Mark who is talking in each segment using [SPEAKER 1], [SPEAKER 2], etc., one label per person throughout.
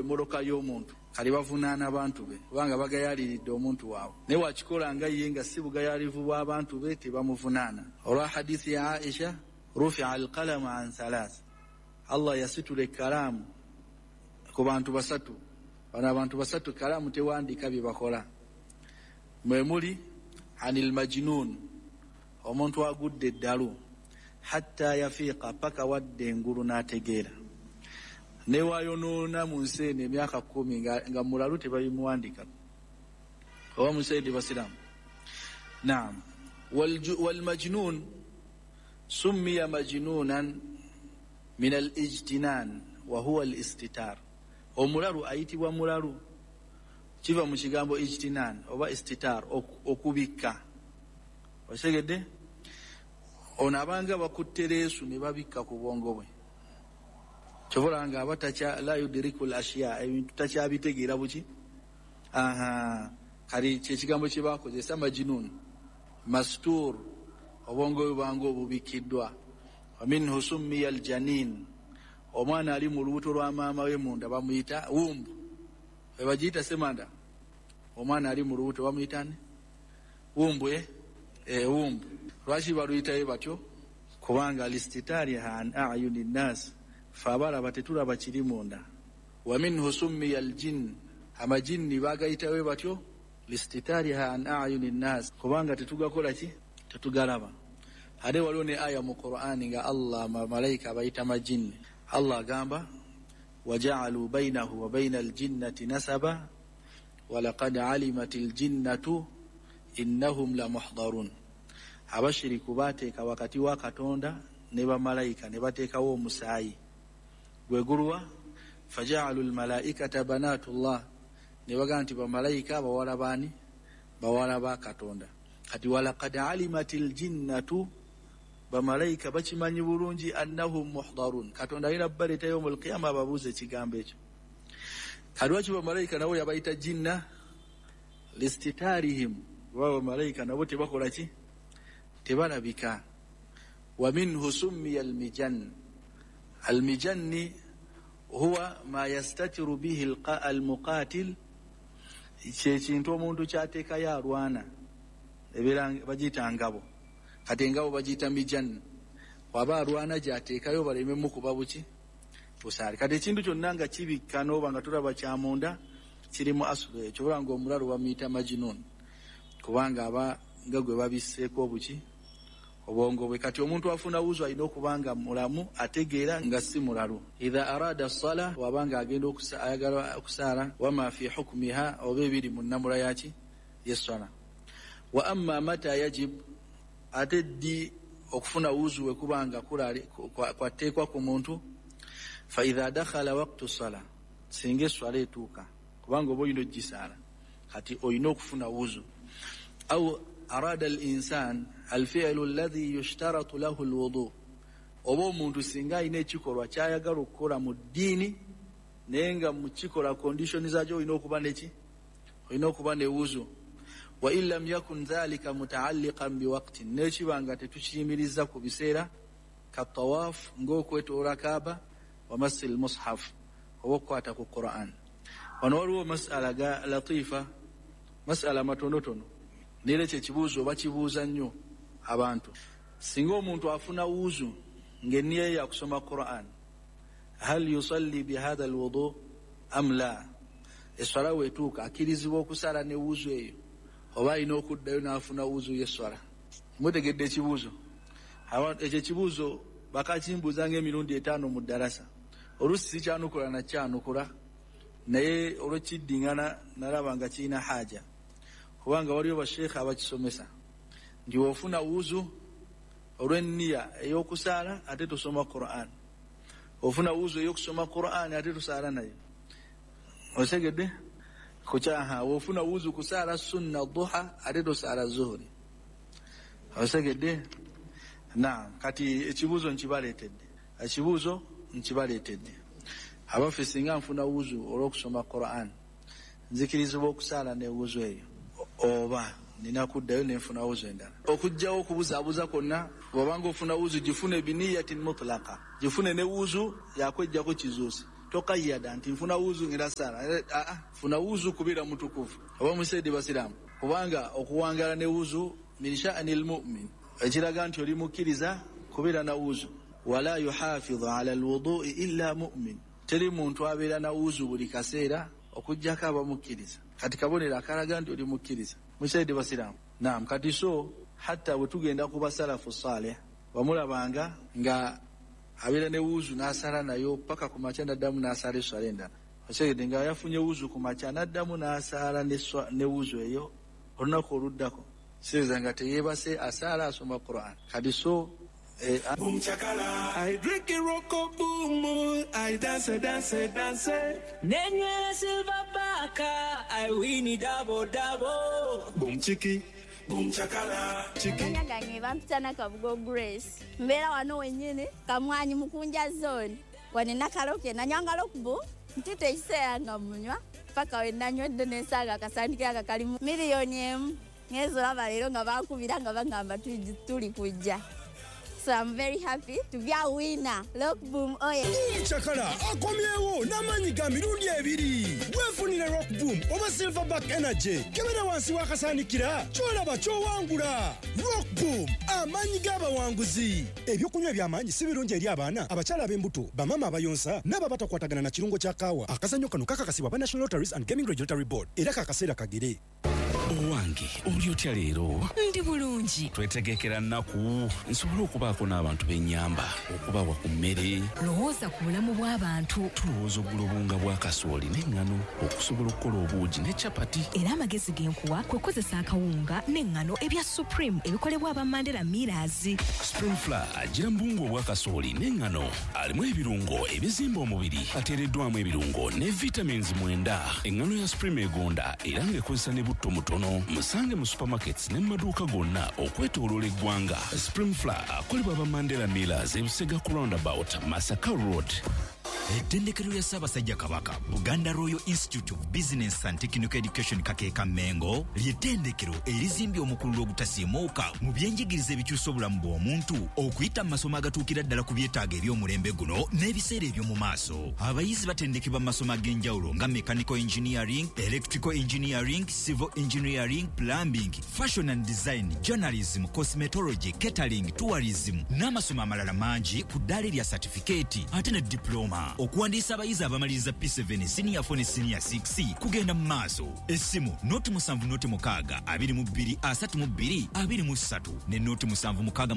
[SPEAKER 1] emmoloka y'omuntu, kali bavunaana abantu be kubanga bagayaliridde omuntu waabwe. Naye wakikola nga ye nga si bugayaalivu bw'abantu be, tebamuvunaana. Olwa hadithi ya Aisha, rufia alqalamu an thalath, Allah yasitula ekkalaamu ku bantu basatu. Bano abantu basatu kalaamu tewandiika bye bakola. Mwe muli anil majnun, omuntu agudde eddalu, hatta yafiiqa, paka wadde engulu n'ategeera. Newayonoona mu nsi eno emyaka 10 nga mulalu tebabimuwandikako. Oba musaidi basiraamu. Naam. Walmajnun summiya majnunan min al-ijtinan wa huwa al-istitar. Omulalu ayitibwa mulalu kiva mu kigambo ijtinan oba istitar, okubikka. Okitegedde? Ono abanga bakutte leesu ne babikka ku bwongo bwe. Kyobola nga aba takya la yudriku al-ashya, ebintu takyabitegeera buki. Aha, kali kye kigambo kye bakozesa majnun mastur, obwongo bwe bwanga obubikiddwa. Wa minhu summiya al-janin, omwana ali mu lubuto lwa maama we munda bamuyita wumbu. Bagiyita semanda. Omwana ali mu lubuto bamuyita ne wumbu, wumbu. Lwaki baluyitayo batyo? Kubanga listitariha an ayuni nnas, fe abalaba tetulaba kiri munda. Wa minhu summiya aljin, amajinni bagayitayo batyo listitariha an ayuni nnas, kubanga tetugakola ki, tetugalaba. Ate waliwo ne aya mu Qur'ani nga Allah malayika abayita majinni. Allah agamba waja'alu bainahu wa baina aljinnati nasaba walaqad alimat aljinnatu innahum lamuhdarun. Abashiriku bateeka wakati wa Katonda ne bamalayika ne bateekawo omusaayi gwe guluwa, faja'alu almalaikata banatullah, ne bagamba nti bamalayika bawala baani? Bawala ba Katonda. Kati walaqad alimat aljinnatu, bamalayika bakimanyi bulungi annahum muhdarun, Katonda alina baleeta yawmul qiyama ababuuza ekigambo ekyo. Kati lwaki bamalayika nabo yabayita jinna? Listitarihim, kuba bamalayika nabo tebakola ki, tebalabika. Wa minhu summiya almijan, almijanni huwa ma yastatiru bihi almuqatil, kyekintu omuntu kyateekayo alwana, ebeera bagiyita ngabo. Kati engabo bagiyita mijan, waba alwana gyateekayo baleme mukuba buki, busaale. Kati ekintu kyonna nga kibikka n'oba nga tulaba kyamunda kiri mu asulu ekyo, oba nga omulalu bamuyita majnun kubanga aba nga gwe babisseeko obuki, obwongo bwe. Kati omuntu afuna wuzu alina okuba nga mulamu, ategeera nga si mulalu. Idha arada sala, waba nga agenda ayagala okusaala, wama fi hukmiha, oba ebiri mu nnamula yaki y'esswala. Wa amma mata yajib, ate ddi okufuna wuzu we kuba nga kwateekwa ku muntu? Fa idha dakhala waqtu sala, singa esswala etuuka, kubanga oba olina ogisaala, kati olina okufuna wuzu. Au arada al-insan al-fi'lu alladhi yushtaratu lahu al-wudu, oba omuntu singa alina ekikolwa kyayagala okukola mu ddiini naye nga mu kikola condition zaakyo olina okuba neki, olina okuba ne wuzu. Wa in lam yakun dhalika mutaalliqan biwaqtin, n'ekiba nga tetukiyimiriza ku biseera, katawaf, ng'okwetoola Kaaba, wa massi al-mushaf, oba okukwata ku Quran. Wano waliwo masala ga latifa, masala matonotono, naye ekyo ekibuuzo bakibuuza nnyo abantu. Singa omuntu afuna wuzu ng'enniya ye yakusoma Quran, hal yusalli bihadha alwudu am la? Esswala weetuuka akkirizibwa okusaala ne wuzu eyo, oba alina okuddayo n'afuna wuzu y'esswala? Mutegedde ekibuuzo? Ekyo ekibuuzo bakakimbuuza ng'emirundi 5 mu ddarasa. Oluusi sikyanukula nakyanukula, naye olw'ekiddiŋŋana nalaba nga kirina haja, kubanga waliwo basheekha abakisomesa nti w'ofuna wuzu olw'enniya ey'okusaala ate tosoma Quran, ofuna wuzu ey'okusoma Quran ate tosaala nayo. Otegedde? Kukyaha w'ofuna wuzu kusaala sunna duha ate tosaala zuhuri. Otegedde? Naam. Kati ekibuuzo nkibaleetedde, ekibuuzo nkibaleetedde. Abaffe, singa nfuna wuzu olw'okusoma Quran, nzikirizibwa okusaala ne wuzu eyo, oba nina kuddayo nenfuna wuzu endala? Okuggyawo okubuzaabuza kwonna, bw'obanga ofuna wuzu gifune biniyatin mutlaqa, gifune ne wuzu yakwejjako kizuusi. Tokayada nti nfuna wuzu ngenda sala. Funa wuzu kubeera mutukuvu. Oba musaidi basiraamu, kubanga okuwangala ne wuzu min sha'ni almu'min, ekiraga nti oli mukkiriza kubeera na wuzu. Wala yuhafidhu ala alwudu'i illa mu'min, teri muntu abeera na wuzu buli kaseera okuggyako abamukkiriza. Kati kabonero akalaga nti oli mukkiriza. Musaidi basiraamu. Naam, kati so hatta bwe tugenda ku basalafu saleh, wamulabanga nga abeera ne wuzu n'asala nayo paka ku makya, n'addamu n'asala esswala endala. Okitegedde? Nga yafunye wuzu ku makya, n'addamu n'asaala ne wuzu eyo olunaku oluddako. Siriza nga teyeebase, asaala, asoma Quran. Kati so
[SPEAKER 2] Boom chakala. I drink it roko boom. I dance, dance, dance.
[SPEAKER 3] Nenywera silver baka, I win it double double.
[SPEAKER 2] Boom chiki. Boom chakala. Chiki.
[SPEAKER 4] Amanya gange bampita Nakabugo Grace. Mbeera wano wennyini Kamwanyi Mukunja Zone. Wano Nakaloke nanywanga Rockboom, ntute ekiseera nga munywa paka we nanywedde nensanga akasandikira nga kalimu 1 million. Ngenze olaba leero nga bankubira nga bagamba tuli kujja. So I'm very happy to be a winner. Rockboom oye!
[SPEAKER 5] Chakala akomyewo n'amaanyi ga mirundi ebiri. Weefunire Rock Boom oba Silverback Energy. Kebera wansi w'akasaanikira, ky'olaba ky'owangula. Rock Boom, amaanyi g'abawanguzi. Ebyokunywa eby'amaanyi si birungi eri abaana, abakyala ab'embuto, bamaama abayonsa n'abo abatakwatagana na kirungo kya kaawa. Akazannyo kano kakakasibwa aba National Lotteries and Gaming Regulatory Board, era kakaseera kagere.
[SPEAKER 6] Owange, oli otya leero?
[SPEAKER 7] Ndi bulungi.
[SPEAKER 6] Twetegekera nnaku nsobole okubaako n'abantu b'ennyamba, okubawa ku mmere.
[SPEAKER 7] Lowooza ku bulamu bw'abantu.
[SPEAKER 6] Tulowooza ogula obuwunga bwa kasooli n'eŋŋano okusobola okukola obuugi ne capati.
[SPEAKER 7] Era amagezi ge nkuwa kwe kukozesa akawunga n'eŋŋano ebya Supreme ebikolebwa aba Mandela Millers.
[SPEAKER 6] Supreme Flour agira mu buwunga obwa kasooli n'eŋŋano, alimu ebirungo ebizimba omubiri, ateereddwamu ebirungo ne vitamins 9. Eŋŋano ya Supreme egonda era ng'ekozesa ne butto mutono. Musange mu supermarkets ne mu maduuka gonna okwetooloola eggwanga. Supreme Flour akolebwa aba Mandela Millers, ebusega ku roundabout, Masaka Road.
[SPEAKER 8] Ettendekero lya Ssaabasajja Kabaka, Buganda Royal Institute of Business and Technical Education, Kakeeka Mengo, ly'ettendekero erizimbye omukululo ogutasiimuuka mu byenjigiriza ebikyusa obulamu bw'omuntu okuyita mu masomo agatuukira ddala ku byetaago eby'omulembe guno n'ebiseera eby'omu maaso. Abayizi batendekebwa mu masomo ag'enjawulo nga mechanical engineering, electrical engineering, civil engineering, plumbing, fashion and design, journalism, cosmetology, catering, tourism n'amasomo amalala mangi ku ddaala erya satifikeeti ate ne diploma. Okuwandiisa abayizi abamaliriza P7, senior 4 ne senior 6 kugenda mu maaso. Essimu 076 22 32 23 ne 0766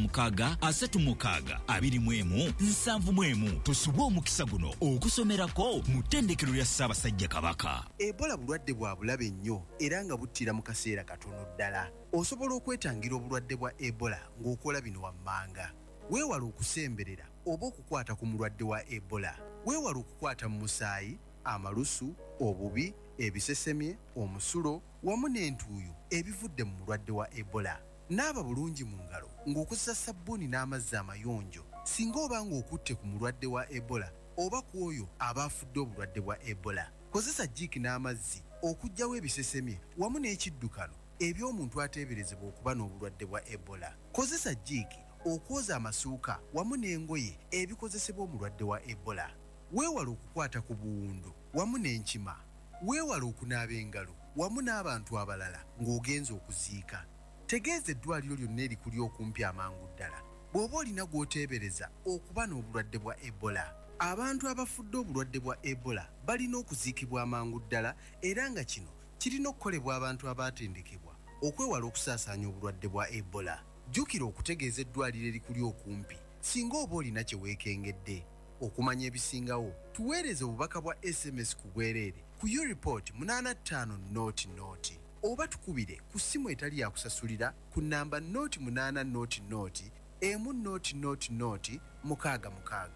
[SPEAKER 8] 36 21 71. Tosubwa omukisa guno okusomerako mu ttendekero lya Ssaabasajja Kabaka.
[SPEAKER 9] Ebola bulwadde bwa bulabe nnyo era nga buttira mu kaseera katono ddala. Osobola okwetangira obulwadde bwa Ebola ng'okola bino wammanga: weewala okusemberera oba okukwata ku mulwadde wa Ebola. Weewala okukwata mu musaayi, amalusu, obubi, ebisesemye, omusulo wamu n'entuuyo ebivudde mu mulwadde wa Ebola. Naaba bulungi mu ngalo ng'okozesa sabbuuni n'amazzi amayonjo singa oba ng'okutte ku mulwadde wa Ebola oba ku oyo aba afudde obulwadde bwa Ebola. Kozesa jiiki n'amazzi okuggyawo ebisesemye wamu n'ekiddukano eby'omuntu ateeberezebwa okuba n'obulwadde bwa Ebola. Kozesa jiiki okwoza amasuuka wamu n'engoye ebikozesebwa omulwadde wa Ebola. Weewale okukwata ku buwundu wamu n'enkima. Weewale okunaaba engalo wamu n'abantu abalala ng'ogenza okuziika. Tegeeza eddwaliro lyonna erikuli okumpi amangu ddala bw'oba olina gw'oteebereza okuba n'obulwadde bwa Ebola. Abantu abafudde obulwadde bwa Ebola balina okuziikibwa amangu ddala, era nga kino kirina okukolebwa abantu abaatendekebwa okwewala okusaasaanya obulwadde bwa Ebola. Jjukira okutegeeza eddwaliro erikuli okumpi singa oba olina kye weekengedde. Okumanya ebisingawo, tuweereze obubaka bwa SMS ku bwereere ku Ureport 8500 oba tukubire ku ssimu etali yakusasulira ku namba 0800 100 066.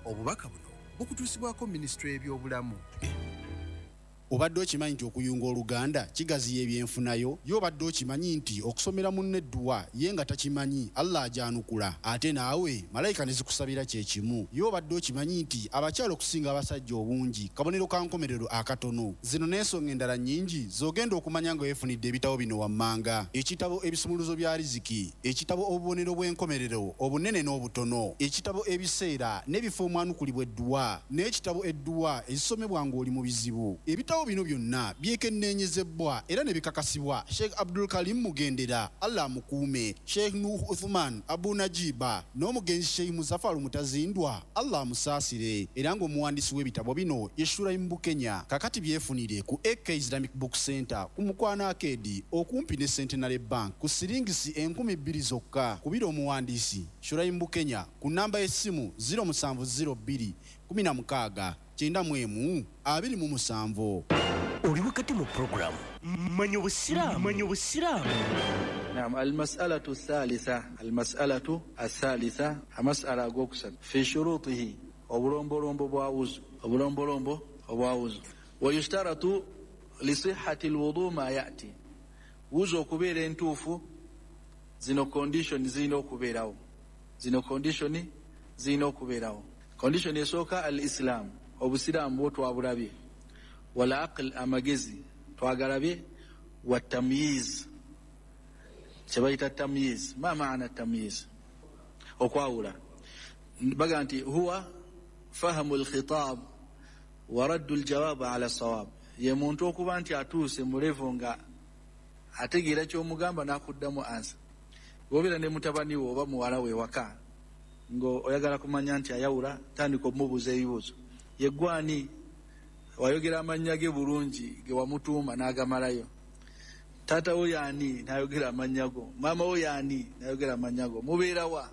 [SPEAKER 9] Obubaka buno bukutuusibwako Minisitule y'Ebyobulamu.
[SPEAKER 10] Obadde okimanyi nti okuyunga oluganda kigaziya ebyenfunayo? Ye obadde okimanyi nti okusomera munno edduwa ye nga takimanyi, Allah agyanukula ate naawe malayika ne zikusabira kye kimu? Ye obadde okimanyi nti abakyala okusinga abasajja obungi kabonero ka nkomerero akatono? Zino n'ensonga endala nnyingi z'ogenda okumanya nga weefunidde ebitabo bino wammanga, Ekitabo Ebisumuluzo bya Riziki, Ekitabo Obubonero bw'enkomerero obunene n'obutono, Ekitabo Ebiseera n'ebifo omwanukulibwa edduwa n'ekitabo Edduwa ezisomebwa ng'oli mu bizibu. Ebitabo bino byonna byekenneenyezebbwa era ne bikakasibwa Sheikh Abdul Karim Mugendera, Allah amukuume, Sheikh Nuuhu Uthuman Abu Najiba n'omugenzi Sheikh Muzafaru Mutazindwa, Allah amusaasire, era ng'omuwandiisi w'ebitabo bino ye Shuraim Bukenya. Kakati byefunire ku AK Islamic Book Centre ku Mukwano Arcade okumpi ne Centenary Bank ku siringisi 2000 zokka. Kubira omuwandiisi Shuraim Bukenya ku nnamba y'essimu 0702 16 91 27.
[SPEAKER 11] Oli wakati mu pulogulaamu Manya Obusiraamu. Manya Obusiraamu.
[SPEAKER 1] Naam, almasalatu thalitha, almasalatu athalitha, amasala agokusatu fi shurutihi, obulombolombo bwa wuzu, obulombolombo obwa wuzu. Wayushtaratu lisihhati alwudu ma yati, wuzu okubeera entuufu zino condition zirina okubeerawo, zino condition zirina okubeerawo. Condition esooka al-islam, obusiraamu bwo twabulabye, wal aql, amagezi twagalabye, wa tamyiz, kyebayita tamyiz. Ma maana tamyiz? Okwawula. Baga nti huwa fahamu alkhitab wa raddu aljawab ala sawab, ye muntu okuba nti atuuse mu level nga ategeera ky'omugamba n'akuddamu ansa. Bw'obeera ne mutabani we oba muwala we waka ng'oyagala kumanya nti ayawula, tandika omubuuza ebibuuzo. Ye gwani? Wayogera amannya ge bulungi ge wamutuuma n'agamalayo. Taata wo yaani? N'ayogera amannya go. Maama wo yaani? N'ayogera amannya go. Mubeera wa?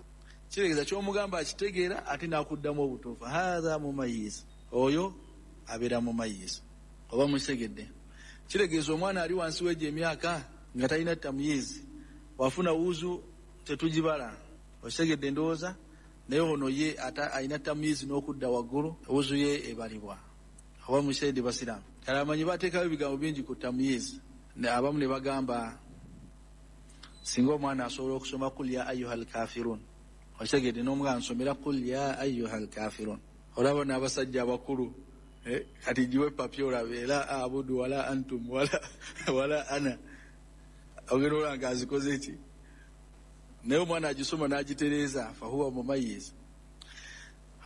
[SPEAKER 1] Kitegeeza ky'omugamba akitegeera ate n'akuddamu obutuufu. Haadha mumayiz, oyo abeera mumayiz. Oba mukitegedde? Kitegeeza omwana ali wansi w'egyo emyaka nga talina tamyiz, wafuna wuzu tetugibala. Okitegedde ndowooza? Naye ono ye alina tamyiz n'okudda waggulu, wuzu ye ebalibwa. Oba mukitegedde basiraamu? Kale amanyi bateekayo ebigambo bingi ku tamyiz. Abamu ne bagamba singa omwana asobola okusoma kul ya ayuha alkafirun, okitegedde, n'omugamba nsomera kul ya ayuha alkafirun. Olaba n'abasajja abakulu kati giwe papi olabe la abudu wala antum wala ana, ogenda olaba nga azikoze ki, naye omwana agisoma n'agitereeza, fahuwa mumayiz.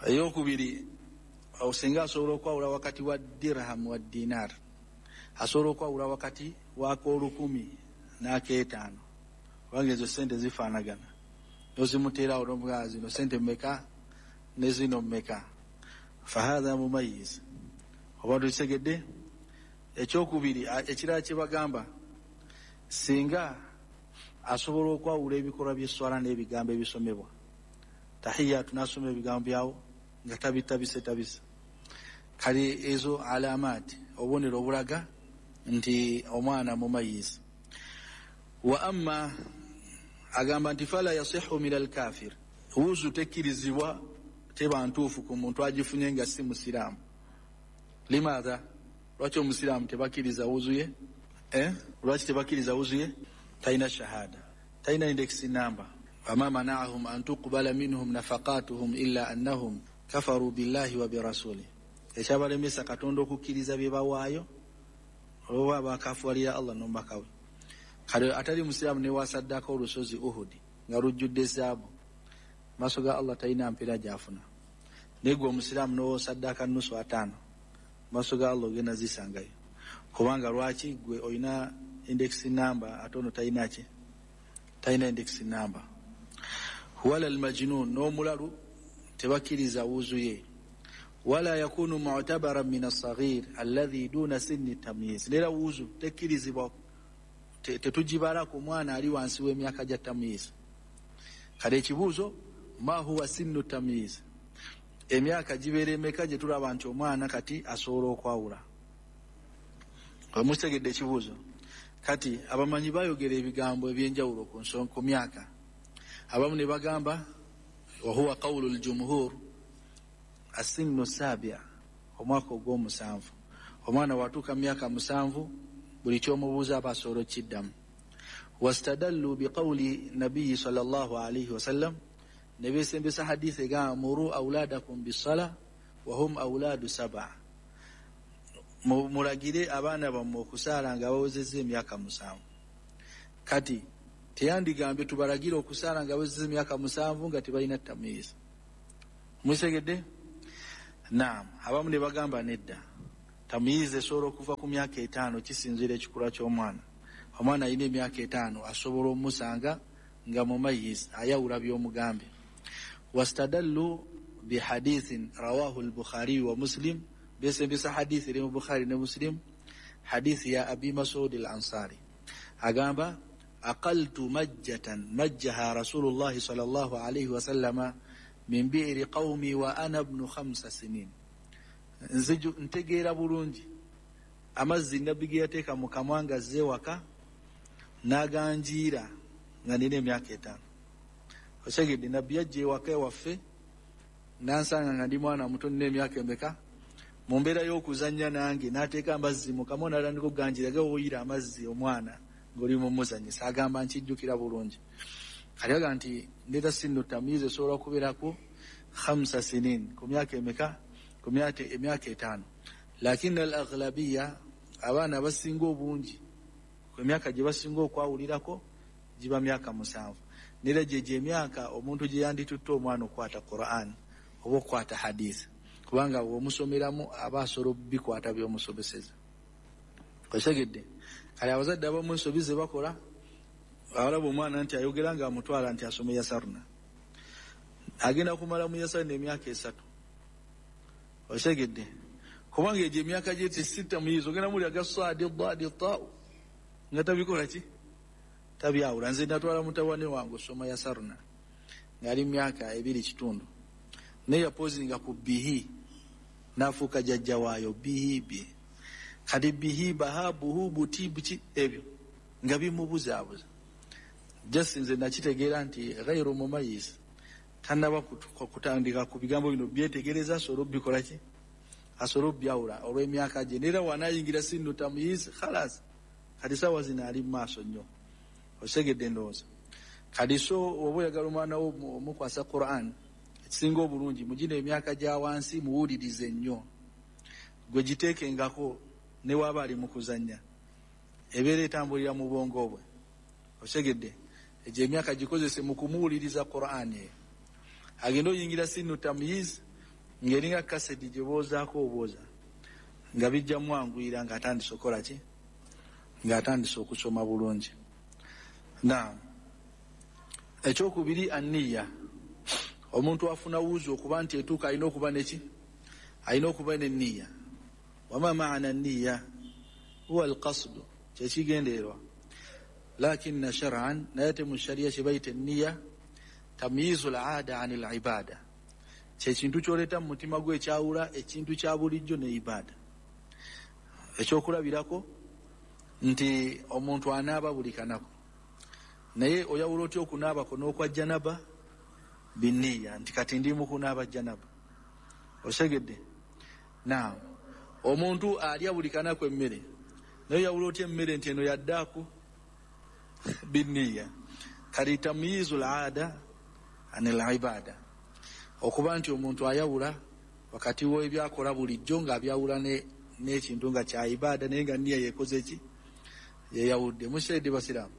[SPEAKER 1] Eyokubiri, singa asobola okwawula wakati wa dirham wa dinar, asobola okwawula wakati w'ak'olukumi n'ak'etaano, kubanga ezo sente zifaanagana, nozimuteerawo n'omugamba zino sente mmeka ne zino mmeka, fahatha mumayiz. Oba tukitegedde? Ekyokubiri ekirala kye bagamba, singa asobola okwawula ebikolwa by'esswala n'ebigambo ebisomebwa, tahiyatu n'asoma ebigambo byawo nga tabitabisetabise. Kale ezo alamaati, obubonero obulaga nti omwana mumayiz. Wa amma agamba nti fala yasihu min alkafir, wuzu tekkirizibwa, teba ntuufu ku muntu agifunye nga si musiraamu. Limaatha? Lwaki omusiraamu tebakkiriza wuzu ye? Lwaki tebakkiriza wuzu ye? Talina shahada, talina index number. Wama mana'ahum an tuqbala minhum nafaqatuhum illa annahum kafaru billahi wa birasuli, ekyabalemesa Katonda okukkiriza bye bawaayo olwoba bakafuwalira Allah n'omubaka we. Kale atali musiraamu newasaddako olusozi Uhudi nga lujjudde zaabu, maaso ga Allah talina mpeera gy'afuna. Naye gwe omusiraamu n'osaddaka nusu 5, maaso ga Allah ogenda zisangayo, kubanga lwaki? Gwe olina index number ate ono talina ki? Talina index number. Wala almajnun, n'omulalu tebakkiriza wuzu ye. Wala yakunu mu'tabaran min as-saghir alladhi duna sinni tamyiz, nera wuzu tekkirizibwa, tetugibala ku mwana ali wansi w'emyaka gya tamyiz. Kale ekibuuzo, ma huwa sinnu tamyiz, emyaka gibeera emeka gye tulaba nti omwana kati asobola okwawula? Omutegedde ekibuuzo? Kati abamanyi bayogera ebigambo ebyenjawulo ku nsonga ku myaka. Abamu ne bagamba wa huwa qawlu al-jumhur as-sinnu sabia, omwaka ogw'omusanvu. Omwana watuuka mu myaka 7 buli kyomubuuza aba asobola okukiddamu. Wastadallu biqawli nabiyyi sallallahu alayhi wasallam, ne beesembesa hadithi egamba muru auladakum bisala wahum auladu 7, mulagire abaana bammwe okusaala nga bawezezza emyaka 7. Kati teyandigambye tubalagire okusaala nga bawezezza emyaka 7 nga tebalina tamyiz. Musegedde? Naam. Abamu ne bagamba nedda, tamyiz esobola okuva ku myaka 5, kisinziira ekikula ky'omwana. Omwana alina emyaka 5 asobola omusanga nga mumayiz, ayawula by'omugambe. Wastadallu bihadithin rawahu al-Bukhari wa Muslim, besembesa hadithi eri mu Bukhari ne Muslim, hadithi ya Abi Mas'ud al-Ansari, agamba aqaltu majjatan majjaha Rasulullah sallallahu alayhi wasallama min bi'ri qawmi wa ana ibnu 5 sinin. Nziju ntegeera bulungi amazzi nabbi ge yateeka mu kamwa nga azze waka n'aganjiira nga nina emyaka 5. Osegedde, nabbi yajja ewaka ewaffe n'ansanga nga ndi mwana muto nina emyaka emeka, mu mbeera y'okuzannya nange n'ateeka amazzi mu kamwa n'atandika okuganjiira, gawuyira amazzi omwana ng'oli mumuzannyisa. Agamba nkijjukira bulungi. Kati agamba nti ndeeta sinnu tamyiz esobola okubeerako 5 sinin, ku myaka emeka? Ku myaka 5. Lakini al-aghlabiya, abaana abasinga obungi emyaka gye basinga okwawulirako giba myaka 7. Nera gye emyaka omuntu gye yanditutte omwana okukwata Qur'an oba okukwata hadith, kubanga bw'omusomeramu aba asobola bikwata by'omusomeseza. Osegedde? Kale abazadde abamu ensobi ze bakola, abalaba omwana nti ayogera nga amutwala nti asome yasaruna, agenda kumala mu yasaruna emyaka 3. Osegedde? Kubanga egyo emyaka gye tesita muyizo, ogenda muli aga saadi daadi tau nga tabikola ki, tabyawula. Nze natwala mutabani wange osoma yasaruna ng'ali myaka 2.5, naye yapozinga ku bihi n'afuuka jjajja waayo bihi bi. Kati bihi baha buhu buti buki ebyo nga bimubuzaabuza. Just nze nakitegeera nti ghairu mumayiz, tannaba kutandika ku bigambo bino byetegereza asobola obikola ki, asobola obyawula olw'emyaka gye. Neera wanaayingira sinnu tamyiz khalas, kati saawa zino ali mu maaso nnyo. Osegedde ndowooza? Kati so oba oyagala omwana wo omukwasa Qur'an, ekisinga obulungi mugino emyaka gya wansi muwulirize nnyo, gwe giteekengako ne waaba ali mu kuzannya, ebeera etambulira mu bwongo bwe. Osegedde? Egyo emyaka gikozese mu kumuwuliriza Qur'an eyo. Agenda oyingira sinnu tamyiz ng'eringa kaseti gye boozaako obwoza, nga bijja mwanguyira ng'atandise okukola ki, ng'atandise okusoma bulungi. Naam. Ekyokubiri anniya, omuntu afuna wuzu okuba nti etuuka alina okuba neki, alina okuba n'enniya. Wama maana nniya huwa alqasdu, kyekigendererwa. Lakinna shar'an, naye ate mu sharia kye bayita enniya tamyizu al-aada an al-ibada, kyekintu ky'oleeta mu mutima gwe ekyawula ekintu kya bulijjo ne ibada. Ekyokulabirako nti omuntu anaaba buli kanaku, naye oyawula otya okunaabako n'okwa janaba? Binniya, nti kati ndi mu kunaaba janaba. Osegedde? Naam. Omuntu alya buli kanaku emmere, naye oyawula otya emmere nti eno yaddaaku? Binniya. Kati tamyizu al-aada an al-ibada, okuba nti omuntu ayawula wakati w'ebyakola bulijjo ng'abyawula n'ekintu nga kya ibada, naye nga nniya yekoze ki, yeyawudde. Mushaidi basiraamu?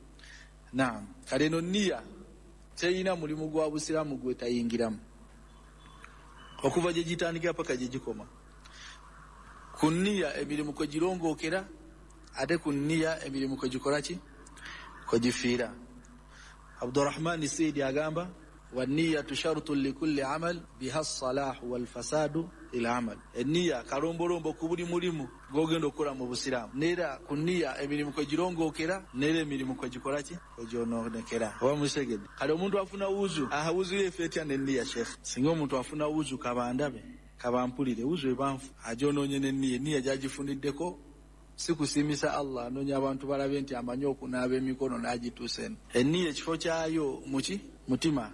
[SPEAKER 1] Naam. Kale eno nniya terina mulimu gwa busiraamu gwe tayingiramu, okuva gye gitandikira paka gye gikoma. Ku nniya emirimu kwe girongookera, ate ku nniya emirimu kwe gikola ki, kwe gifiira. Abdurrahman Saidi agamba wanniyatu shartun likulli amal biha salahu walfasadu lil amal. Enniya kalombolombo ku buli mulimu gw'ogenda okukola mu busiraamu, neera ku nniya emirimu kwe girongookera, neera emirimu kwe gikola ki, kwe gyonoonekera. Oba musegedde? Kale omuntu afuna wuzu, aha wuzu ye efa etya n'enniya sheikh? Singa omuntu afuna wuzu kabandabe kabampulire, wuzu ebanfu agyonoonye n'enniya, enniya gyagifuniddeko si kusiimisa Allah, anoonya abantu balabe nti amanyi okunaaba emikono n'agituusa eno. Enniya ekifo kyayo muki, mutima.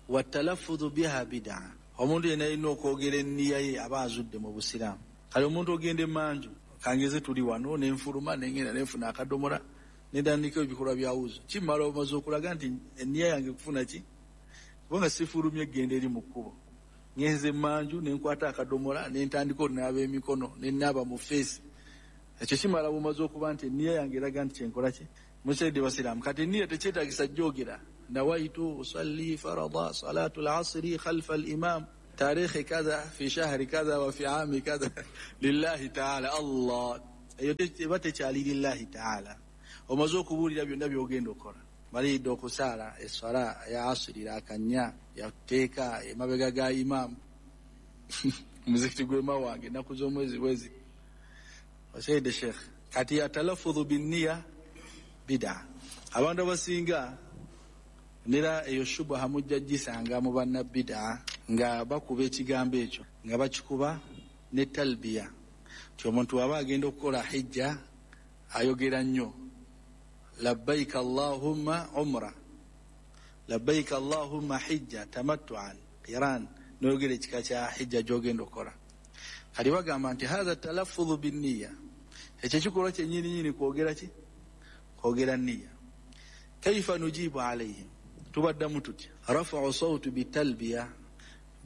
[SPEAKER 1] Watalafudhu biha bid'a, omuntu yenna alina okwogera enniya ye aba azudde mu busiraamu. Kale omuntu ogenda emanju, Kangeze tuli wano nenfuluma nengenda nenfuna akadomola nentandika ebikolwa bya wuzu, kimala omaze okulaga nti eniya yange kufuna ki, kubanga sifulumye egenda eri mu kkubo, ngenze manju nenkwata akadomola nentandika onaaba emikono nenaaba mu feesi. Ekyo kimala bumaze okuba nti eniya yange eraga nti kyenkola ki. Musaidde basiraamu, kati eniya tekyetagisa jogera nawaitu usalli farada salatu lasri khalfa alimam tarikhi kadha fi shahri kadha wa fi ami kadha lillahi taala. Allah eyo eba tekyali lillahi taala. Omaze okubuulira byonna byogenda okukola, malidde okusaala eswala ya asiri rakanya yateeka emabega ga imaamu muzikiti gwema wange ennaku z'omwezi bwezi. Osaidde sheekh, kati atalafudhu binniya bida. Abantu abasinga nera eyo shubaha mujja gisanga mu banna bida nga bakuba ekigambo ekyo nga bakikuba ne talbiya nti omuntu aba agenda okukola hijja ayogera nnyo labbaika allahumma umra, labbaika allahumma hijja tamattuan qiran, noyogera ekika kya hijja gyogenda okukola. Kati bagamba nti hatha talaffudhu binniya, ekyo ekikolwa kyennyini nyini kwogera ki? Kwogera nniya. Kaifa nujibu alaihim, tubaddamu tutya? Rafau sauti bitalbiya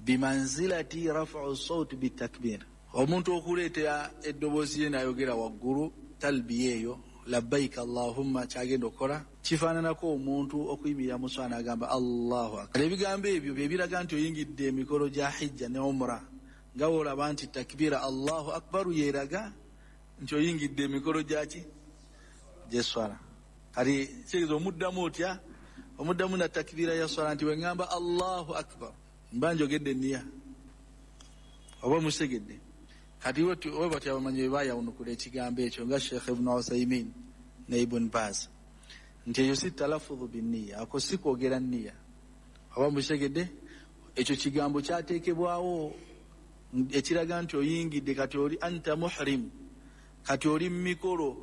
[SPEAKER 1] bimanzilati rafau sauti bitakbir. Omuntu okuleetera eddoboozi ye n'ayogera waggulu talbiya eyo labbaika allahumma kyagenda okukola kifaananako omuntu okuyimirira mu swala n'agamba Allahu akbar. Ebigambo ebyo bye biraga nti oyingidde emikolo gya hijja ne umra, nga woolaba nti takbira Allahu akbaru yeeraga nti oyingidde emikolo gyaki gy'esswala. Kati kitegeeza omuddamu otya? Omuddamu na takbira ya swala nti weŋŋamba Allahu akbar mba njogedde nniya, oba musegedde. Kati we batyo abamanyi bwe baayawunukula ekigambo ekyo nga Sheikh Ibn Uthaymin ne Ibn Baz nti eyo si talafudhu binniya, ako si kwogera nniya, oba musegedde. Ekyo kigambo kyateekebwawo ekiraga nti oyingidde, kati oli anta muhrim, kati oli mu mikolo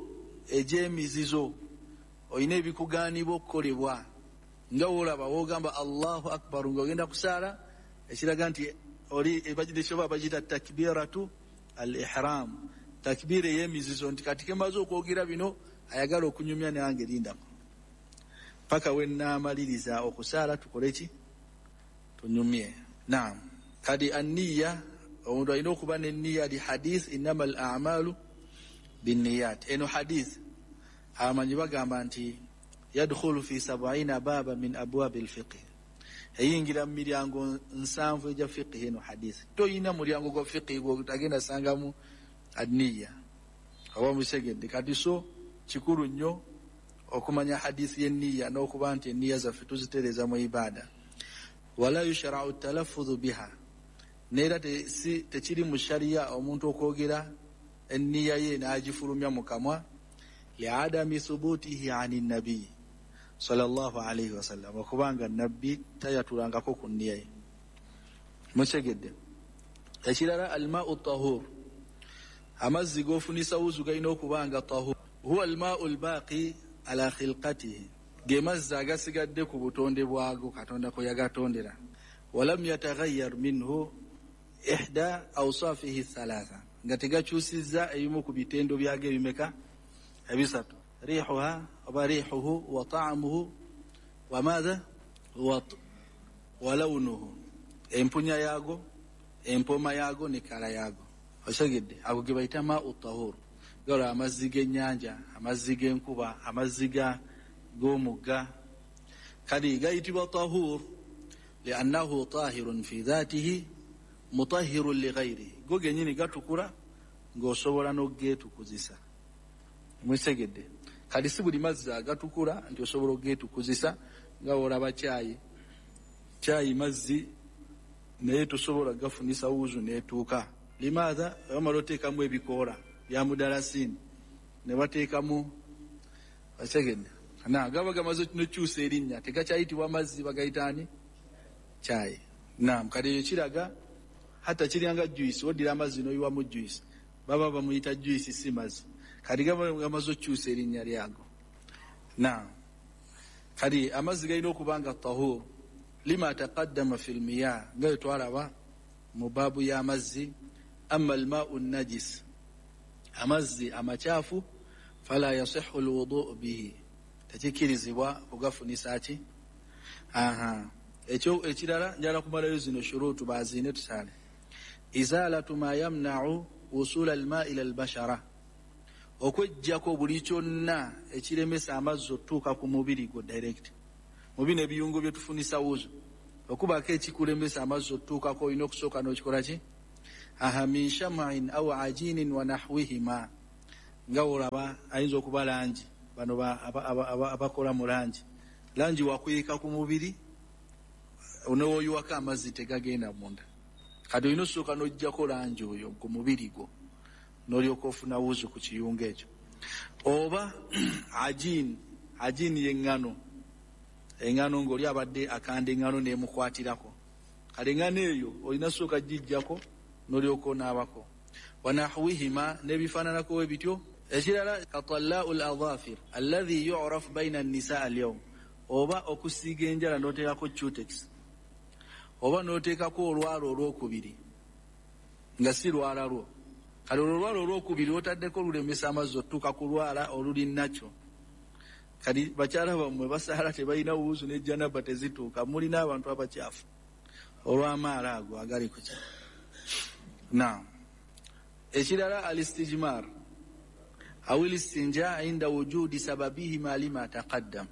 [SPEAKER 1] egy'emizizo, olina ebikugaanibwa okukolebwa nga woolaba woogamba Allahu akbar ng'ogenda kusaala, ekiraga nti oli ebagidde bagiyita takbiratu al-ihram, takbira ey'emizizo nti kati kemaze okwogera bino ayagala okunyumya nange lindako paka we nnaamaliriza okusaala tukole ki? Tunyumye. Naam, kati anniya omuntu alina okuba n'enniya li hadith innama al a'malu binniyat. Eno hadith abamanyi bagamba nti yadkhulu fi 70 baba min abwabi alfiqh, eyingira mu miryango 7 egya fiqh. Eno hadith toyina mulyango gwa fiqh gw'otagenda sangamu anniya, oba musegedde. Kati so kikulu nnyo okumanya hadith y'enniya n'okuba nti enniya zaffe tuzitereeza mu ibada. Wala yushra'u talaffudhu biha, neera tekiri mu sharia omuntu okwogera enniya ye n'agifulumya mu kamwa liadami thubutihi ani nabii sallallahu alaihi wasallam, okubanga nabbi tayatulangako ku nniya ye. Mutegedde. Ekirala almau tahur, amazzi g'ofunisa wuzu galina okuba nga tahur. Huwa almau albaqi ala khilqatihi, ge mazzi agasigadde ku butonde bwago Katonda kwe yagatondera. Walam yataghayyar minhu ihda awsafihi thalatha, nga tegakyusizza ebimu ku bitendo byago ebimeka ebisatu, rihuha oba rihuhu wa ta'amuhu wa madha wa launuhu, empunya yaago, empoma yaago ne kala yaago. Osegedde, ago ge bayita ma'u tahur, gala amazzi g'ennyanja, amazzi g'enkuba, amazzi g'omugga. Kati gayitibwa tahur liannahu tahirun fi dhatihi mutahhirun li ghayrihi, go gennyini gatukula ng'osobola n'ogeetukuzisa. Musegedde. Kati si buli mazzi agatukula nti osobola ogeetukuzisa, nga olaba kyayi, kyayi mazzi naye tosobola gafunisa wuzu n'etuuka. Limaatha bamala oteekamu ebikoola bya mudalasini ne bateekamu, osegedde, na gaba gamaze nokyusa erinnya tegakyayitibwa mazzi, bagayita ani? Kyayi. Naam, kati ekyo kiraga hatta kiryanga juice, oddira amazzi n'oyiwamu juice, baba bamuyita juice si mazzi. Kati gaba gamaze okyusa erinnya lyago. Naam, kati amazzi galina okuba nga tahur lima taqaddama fil miyah, nga bwe twalaba mu baabu y'amazzi. Amma almau najis, Amazzi amakyafu fala yasihu lwudu bihi, tekikkirizibwa kugafunisa ki. Aha, ekyo ekirala njala kumalayo zino shurutu baziine tusaale. Izalatu ma yamnau wusula alma ila albashara, okwejjako buli kyonna ekiremesa amazzi otutuuka ku mubiri gwo direct. Mu bino ebiyungo bye tufunisa wuzu, okubaako ekikulemesa amazzi otutuukako olina okusooka n'okikola ki. Aha, min sham'in au ajinin wa nahwihima, nga olaba ayinza okuba langi, bano abakola mu langi, langi wakuyiika ku mubiri newoyiwako amazzi tegagenda munda. Kati olina osooka n'oggyako langi oyo ku mubiri gwo n'olyoka ofuna wuzu ku kiyungo ekyo. Oba ajin, ajin y'eŋŋano, eŋŋano ng'oli abadde akanda eŋŋano n'emukwatirako, kale eŋŋano eyo olina sooka giggyako n'olyoka onaabako. Wanahwihima, n'ebifaananako ebityo. Ekirala katallau l adhafir alladhi yuraf baina annisa alyawm, oba okusiiga enjala n'oteekako cutex oba n'oteekako olwala olwokubiri nga si lwala lwo. Kale olwo olwala olwokubiri otaddeko lulemesa amazzi otutuuka ku lwala oluli nakyo. Kati bakyala bammwe basaala tebalina wuuzu ne janaba tezituuka, mulina abantu abakyafu olw'amaala ago agali ku ki. Naam, ekirala alistijmar aw listinja inda wujudi sababihima lima taqaddam,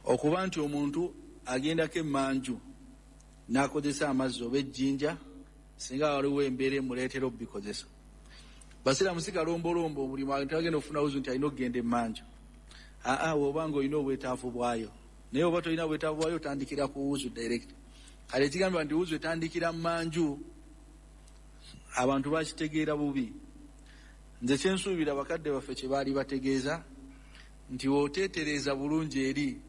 [SPEAKER 1] okuba nti omuntu agendako emmanju n'akozesa amazzi oba ejjinja singa waliwo embeera emuleetera okubikozesa. Basiraamu si kalombolombo buli muntu agenda okufuna wuzu nti alina okugenda emmanju. Aa, woba nga olina obwetaavu bwayo, naye oba tolina bwetaavu bwayo otandikira ku wuzu direct. Kale ekigambibwa nti wuzu etandikira mmanju abantu bakitegeera bubi. Nze kyensuubira bakadde baffe kye baali bategeeza nti w'oteetereeza bulungi eri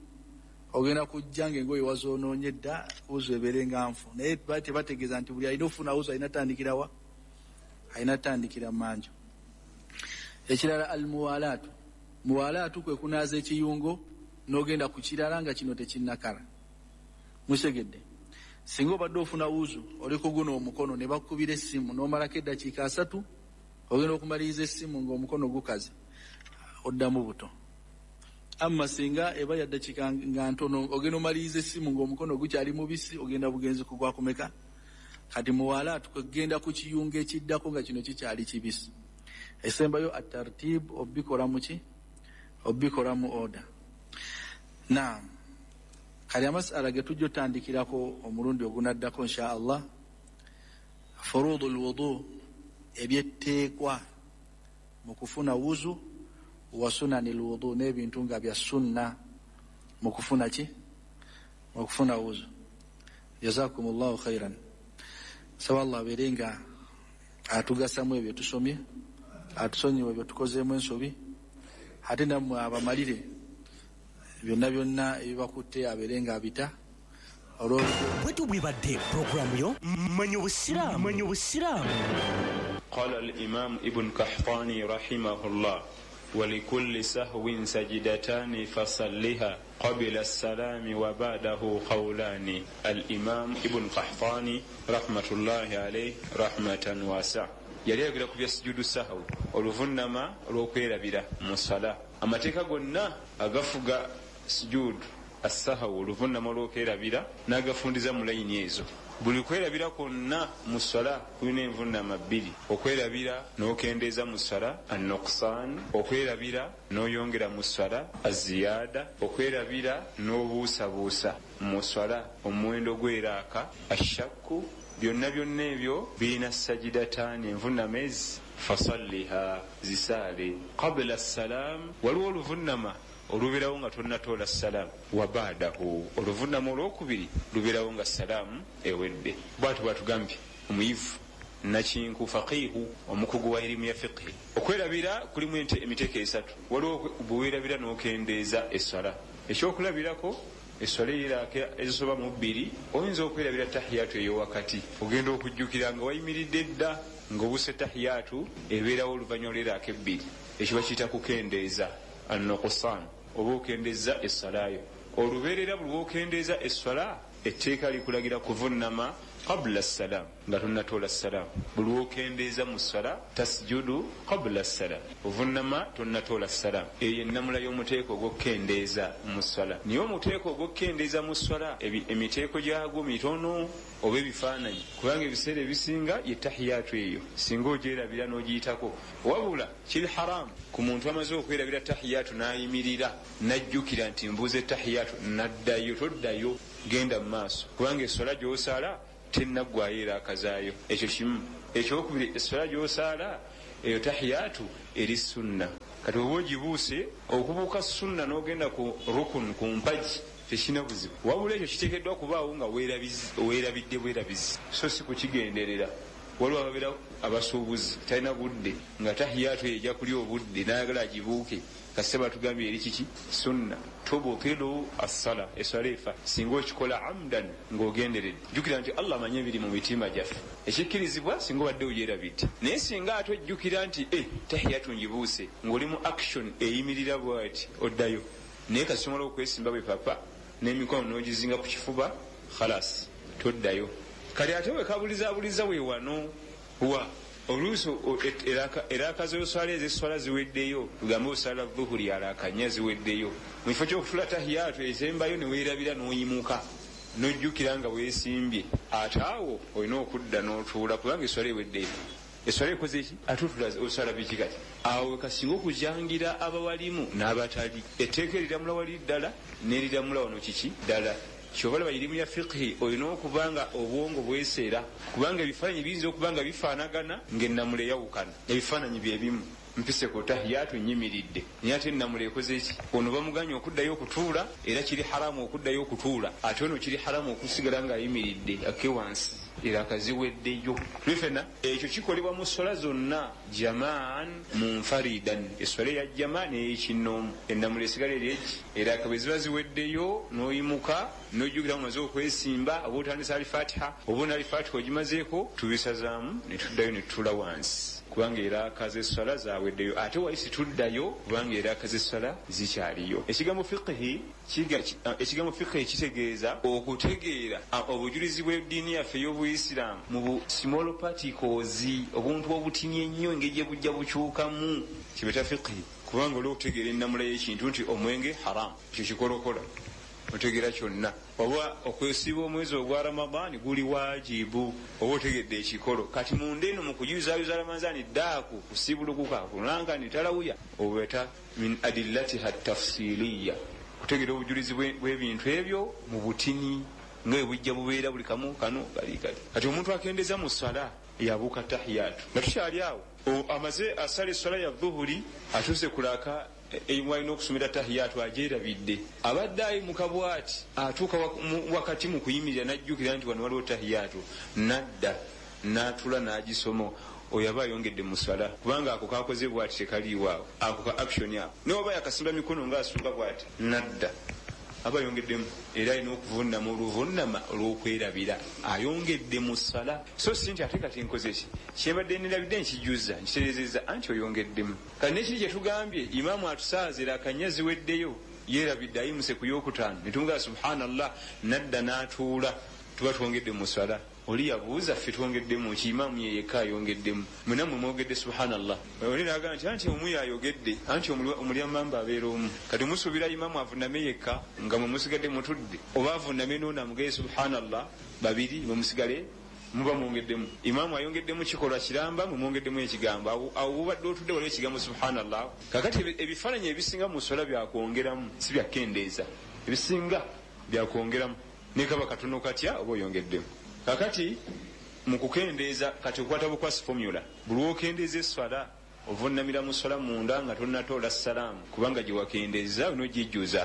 [SPEAKER 1] ogenda kujja ng'engoye wazoonoonye dda, wuzu ebeere nga nfu. Naye baali tebategeeza nti buli alina okufuna wuzu alina tandikira wa, alina tandikira mmanju. Ekirala almuwalaatu, muwalaatu kwe kunaaza ekiyungo n'ogenda ku kirala nga kino tekinnakala. Musegedde, singa obadde ofuna wuzu oli kuguna omukono ne bakukubira essimu n'omalako eddakiika 30, ogenda okumaliriza essimu ng'omukono gukaze, oddamu buto. Amma singa eba ya ddakiika nga ntono, ogenda omaliriza essimu ng'omukono gukyali mubisi, ogenda bugenzi kugwa kumeka. Kati muwalaatu kwe kugenda ku kiyungo ekiddako nga kino kikyali kibisi. Esembayo atartib, obikola mu ki, obikola mu order. Naam, kale amasala ge tujja otandikirako omulundi ogunaddako insha Allah, furudu lwudu, ebyetteekwa mu kufuna wuzu, wa sunani lwudu, n'ebintu nga bya sunna mu kufuna ki, mu kufuna wuzu. Jazakum llahu khairan. Saba Allah abeere nga atugasamu ebyo tusomye, atusonyiwe ebyo tukozeemu ensobi, ate nammwe abamalire byonna byonna ebibakutte abeere nga abita.
[SPEAKER 11] Bwetyo bwebadde pulogulaamu yo Manya Obusiraamu. Manya Obusiraamu.
[SPEAKER 12] Qala al-Imam Ibn Qahtani rahimahullah, walikulli sahwin sajidatani fasalliha qabila salami wa ba'dahu qawlani. Al-Imam Ibn Qahtani rahmatullahi alayhi rahmatan wasa yali ayogera ku bya sujudu sahwi, oluvunnama olw'okwerabira mu sala. Amateeka gonna agafuga sujudu assahawu, oluvunnama olw'okwerabira, n'agafundiza mu layini ezo. Buli kwerabira kwonna mu swala kulina envunnama bbiri: okwerabira n'okendeeza mu swala, annuqsan, okwerabira n'oyongera mu swala, aziyada, okwerabira n'obuusabuusa mu swala, omuwendo gw'eraaka, ashakku. Byonna byonna ebyo birina sajidataani, envunnama ezi, fasalliha, zisaale, qabula salam, waliwo oluvunnama olubeerawo nga tonnatoola salaamu, wa badahu, oluvunnama olwokubiri lubeerawo nga salaamu ewedde. Bwatyo bwatugambye omuyivu nakinku faqihu, omukugu wa irimu ya fiqhi. Okwerabira kulimu emiteeko esatu. Waliwo bwewerabira n'okendeeza esswala. Ekyokulabirako, esswala eyeraaka ezisoba mu bbiri, oyinza okwerabira tahiyatu ey'owakati, ogenda okujjukira nga wayimiridde dda ng'obuuse tahiyatu ebeerawo oluvannyuma lw'eraaka ebbiri. Ekyo bakiyita kukendeeza, annuqsan, oba okendeza esswalayo olubeerera. Buli lwokendeeza esswala, etteeka likulagira kuvunnama Qabla salam, nga tonnatoola salaamu. Buli lwokendeeza mu ssala, tasjudu qabla salam, ovunama tonnatoola salaamu. Eyo ennamula y'omuteeko ogw'okukendeeza mu ssala. Naye omuteeko ogw'okukendeeza mu ssala, emiteeko gyagwo mitono oba ebifaananyi, kubanga ebiseera ebisinga ye tahiyatu eyo singa ogyerabira n'ogiyitako. Wabula kiri haramu ku muntu amaze okwerabira tahiyatu n'ayimirira n'ajjukira nti mbuuza tahiyatu n'addayo. Toddayo, genda mu maaso, kubanga essola gy'osaala tennaggwayo era akazaayo. Ekyo kimu. Ekyokubiri, essola gy'osaala eyo tahiyatu eri sunna. Kati oba ogibuuse, okubuuka sunna n'ogenda ku rukun, ku mpagi, tekirina buzibu. Wabula ekyo kiteekeddwa kubaawo nga weerabidde bwerabizi, so si kukigenderera. Waliwo ababeera abasuubuzi, talina budde, nga tahiyatu eyo ejja kulya obudde, n'ayagala agibuuke. Kasita batugambye eri kiki? Sunna. Tubutilu assala, eswala efa singa okikola amdan, ng'ogenderedde. Jjukira nti Allah amanyi ebiri mu mitima gyaffe. Ekikkirizibwa singa obadde ogyerabidde, naye singa ate ojjukira nti e tahiyatu ngibuuse, ng'oli mu action eyimirira bwati, oddayo. Naye kasita omala okwesimba bwe papa n'emikono n'ogizinga ku kifuba, khalas, toddayo. Kati ate wekabulizabuliza we wano wa oluusi eraka z'oswala ez'esswala ziweddeyo, tugambe osala dhuhuri alaka nnya ziweddeyo, mu kifo ky'okutula tahiyatu esembayo ne weerabira n'oyimuka n'ojjukira nga weesimbye, ate awo olina okudda n'otuula, kubanga esswala eweddeyo. Esswala ekoze ki? Ate otula osala biki? Kati awo wekasinga okujangira abawalimu n'abatali. Etteeka eriramula wali ddala n'eriramula wano kiki ddala. Kyova laba irimu ya fiqhi olina okuba nga obwongo bweseera, kubanga ebifaananyi biyinza okuba nga bifaanagana ng'ennamula eyawukana. Ebifaananyi bye bimu, mpise ku tahiyatu nyimiridde, naye ate ennamula ekoze ki? Ono bamuganye okuddayo okutuula, era kiri haramu okuddayo okutuula, ate ono kiri haramu okusigala ng'ayimiridde akke wansi, era akaziweddeyo. Tuli fenna. Ekyo kikolebwa mu ssola zonna, jamaan munfaridan, esswala eya jama n'eyekinnoomu, ennamula esigala eri egi. Era bwe ziba ziweddeyo n'oyimuka n'ojjukira omaze okwesimba, oba otandisa alifatiha oba ona alifatiha ogimazeeko, tubisazaamu ne tuddayo ne tutuula wansi, kubanga eraaka z'esswala zaweddeyo. Ate wali situddayo, kubanga eraaka z'esswala zikyaliyo. Ekigambo fiqhi ekigambo fiqhi kitegeeza okutegeera obujulizi bw'eddiini yaffe ey'obuyisiraamu mu bu small particles, obuntu obutini ennyo, engeri gye bujja bukyukamu, kibeta fiqhi. Kubanga olw'okutegeera ennamula y'ekintu nti omwenge haramu, ekyo kikolokola otegeera kyonna, oba okwesiiba omwezi ogwa Ramadaani guli wajibu, oba otegedde ekikolo. Kati munda eno mu kujuzayuza Ramazaani ddaaku kusiibulukuka kunanka nitalawuya, obeta min adillatiha tafsiliya, kutegeera obujulizi bw'ebintu ebyo mu butini nga bwe bujja bubeera buli kamu kano kali kali. Kati omuntu akendeeza mu ssala yabuuka tahiyatu nga tukyali awo, amaze asala esswala ya dhuhuri, atuuse kulaka walina okusomera tahiyatu, agyerabidde. Abadde ayimuka bwati, atuuka wakati mu kuyimirira n'ajjukira nti wano waliwo tahiyatu, nadda n'atula n'agisoma. Oyo aba ayongedde mu swala, kubanga ako kakoze bwati tekaliiwo awo, ako ka action ako, naye oba yakasimba mikono ng'asuuka bwati nadda, aba ayongeddemu, era alina okuvunama oluvunama olw'okwerabira, ayongedde mu ssala. So si nti ate kati nkoze ki, kyembadde nerabidde nkijuza nkitereezezza, anti oyongeddemu. Kati nekiri kyetugambye, imaamu atusaazira akanya ziweddeyo, yeerabidde, ayimuse ku yokutaano, netumugamba subhanallah, nadda n'atuula, tuba twongedde mu ssala. Oli yabuuza, ffe twongeddemu ki? Imaamu ye yekka ayongeddemu, mwena mwe mwogedde subhanallah. Oli n'agamba nti anti omu yayogedde, anti omulyamamba abeera omu. Kati musuubira imaamu avuname yekka nga mwe musigadde mutudde, oba avuname n'ono amugaye subhanallah babiri, mwe musigale muba mwongeddemu? Imaamu ayongeddemu kikolwa kiramba, mwe mwongeddemu ekigambo. Awo bubadde otudde waliwo ekigambo subhanallah. Kakati ebifaananyi ebisinga mu sswala byakwongeramu, si byakukendeeza. Ebisinga byakwongeramu, ne kaba katono katya oba oyongeddemu. Kakati mu kukendeeza, kati okwata bukwasi formula, buli lw'okendeeza esswala ovunamira mu sswala munda nga tonnatoola salaamu, kubanga gye wakendeeza onogijjuza.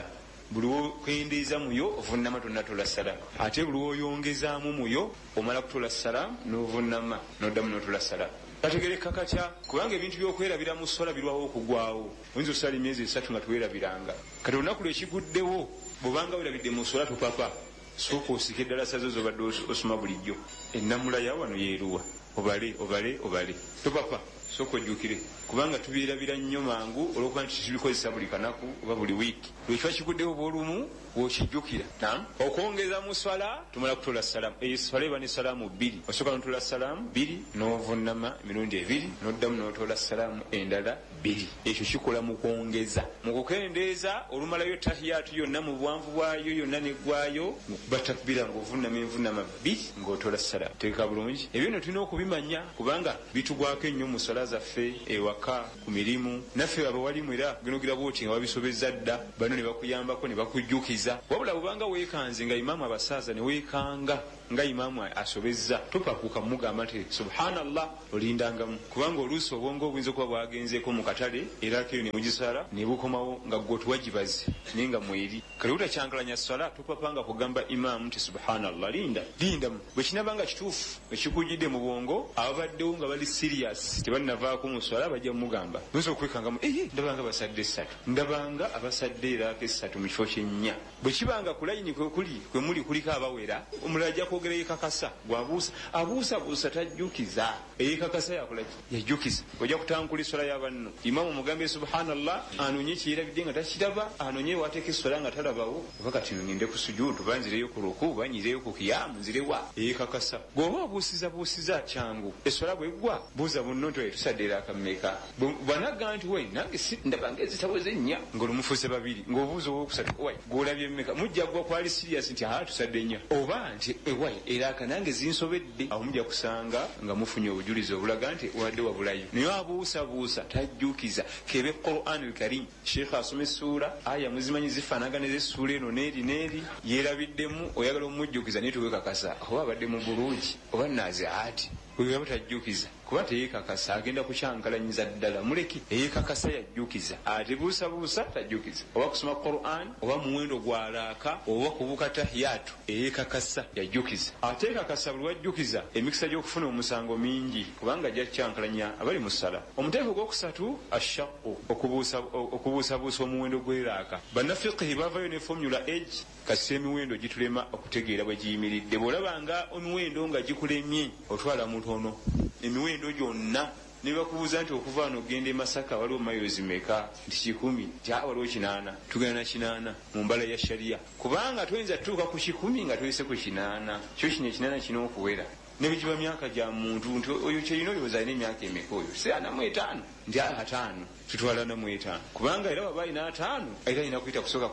[SPEAKER 12] Buli lw'okendeeza muyo ovunama tonnatoola salaamu, ate buli lw'oyongezaamu muyo omala kutoola salaamu n'ovunama n'oddamu n'otoola salaamu. Kategereka katya? Kubanga ebintu by'okwerabira mu sswala birwawo okugwawo. Oyinza osala emyezi 3 nga tewerabiranga, kati olunaku lwekiguddewo bw'obanga werabidde mu sswala topapa, sooka osike eddalasa zo z'obadde osoma bulijjo, ennamula ya wano yeeruwa, obale obale obale, topapa. Sooka ojjukire, kubanga tubyerabira nnyo mangu olwokuba nti tubikozesa buli kanaku oba buli wiiki. Lwekiba kiguddewo bwolumu wokijjukira. Nam okwongeza mu swala, tumala kutola salaamu. Eyo swala eba ne salaamu bbiri. Osooka notola salaamu bbiri, novunama emirundi ebiri, noddamu notola salaamu endala bbiri. Ekyo kikola mu kwongeza. Mu kukendeeza, olumalayo tahiyatu yonna mu buwanvu bwayo yonna neggwayo, ngaokuba takbira, ngaovunama envunama bbiri, ngaotola salaamu. Teeka bulungi. Ebyo nno tulina okubimanya kubanga bitugwako ennyo mu swala zaffe, ewaka, ku mirimu. Naffe abawalimu era genogira bwoti nga wabisobezza dda, bano ne bakuyambako ne bakujjukiza. Wabula bwobanga weekanze nga imaamu abasaaza, ne weekanga nga imaamu asobezza, topakuka mugamba nti subhanallah, olindangamu, kubanga oluusi obwongo obuyinza okuba bwagenzeeko mu katale, era keyo nemugisala nebukomawo nga gwe otuwagibaze naye nga mweri. Kale butakyankalanya swala, topapanga kugamba imaamu nti subhanallah. Linda, lindamu. Bwe kinaba nga kituufu ekikujjidde mu bwongo, ababaddewo nga bali serious tebanavaako mu swala bajja mugamba. Oyinza okwekangamu, eye ndabanga basadde esatu, ndabanga abasadde eraako esatu mu kifo kyennya. Bwe kibanga ku layini kwekuli kwemuli kuliko abawera, omulala ajja kwogera yekakasa. Gwabuusa abuusabuusa tajjukiza, eyekakasa yakolaki? Yajjukiza. Ojja kutankula eswala ya banno. Imaamu omugambe subhanallah, anonye kyerabidde nga takiraba, anonye wateeka eswala nga talabawo, oba kati ngende ku sujudu, oba nzireyo ku ruku, oba nyireyo ku kiyamu, nzirewa. Eyekakasa. Bw'oba obuusizabuusiza kyangu, eswala bweggwa buuza munno nti tusadde eraaka mmeka. Bw'anagamba nti we nange ndabanga ezitaweze nnya, ng'olumufuuse babiri, ng'obuuza owokusatu, owai gw'olabye mmeka? Mujja gwa kwali serious nti aa tusadde nnya, oba nti ewai eraaka nange zinsobedde. Awo mujja kusanga nga mufunye obujulizi obulaga nti wadde wabulayo. Naye abuusabuusa tajjukiza. Kebe Quran al-Karim, sheekh asoma essuula, aya muzimanyi zifaanagana ez'essuula eno n'eri n'eri, yeerabiddemu, oyagala omujjukiza naye tewekakasa oba abadde mu bulungi oba naziaati. Oyo aba tajjukiza kuba teyekakasa, agenda kukyankalanyiza ddala. Muleke, eyekakasa yajjukiza, ate buusabuusa tajjukiza. Oba kusoma Quran, oba muwendo gwalaaka, oba kubuka tahiyatu, eyekakasa yajjukiza. Ateekakasa buli wajjukiza emikisa gy'okufuna omusango mingi, kubanga ajja kukyankalanya abali mu ssala. Omuteeko ogwokusatu, ashaqu, okubuusabuusa omuwendo gw'eraaka. Bannafiqihi bavayo ne formula age kasita emiwendo gitulema okutegeera bwe giyimiridde. Bw'olabanga emiwendo nga gikulemye, otwala mutono emiwendo gyonna. Ne bakubuuza nti okuva wano okugenda e Masaka waliwo mayirozi meka? Nti 100. Nti waliwo 80. Tugenda na 80 mu mbala ya sharia, kubanga toyinza tutuuka ku 100 nga toyise ku 80. Kyo kino 80 kirina okuwera ne bwe giba myaka gya muntu, nti oyo kyerina olowooza alina emyaka emeka oyo? Si 45? Nti 50. Tutwala 45, kubanga era waba alina 50 era alina kusooka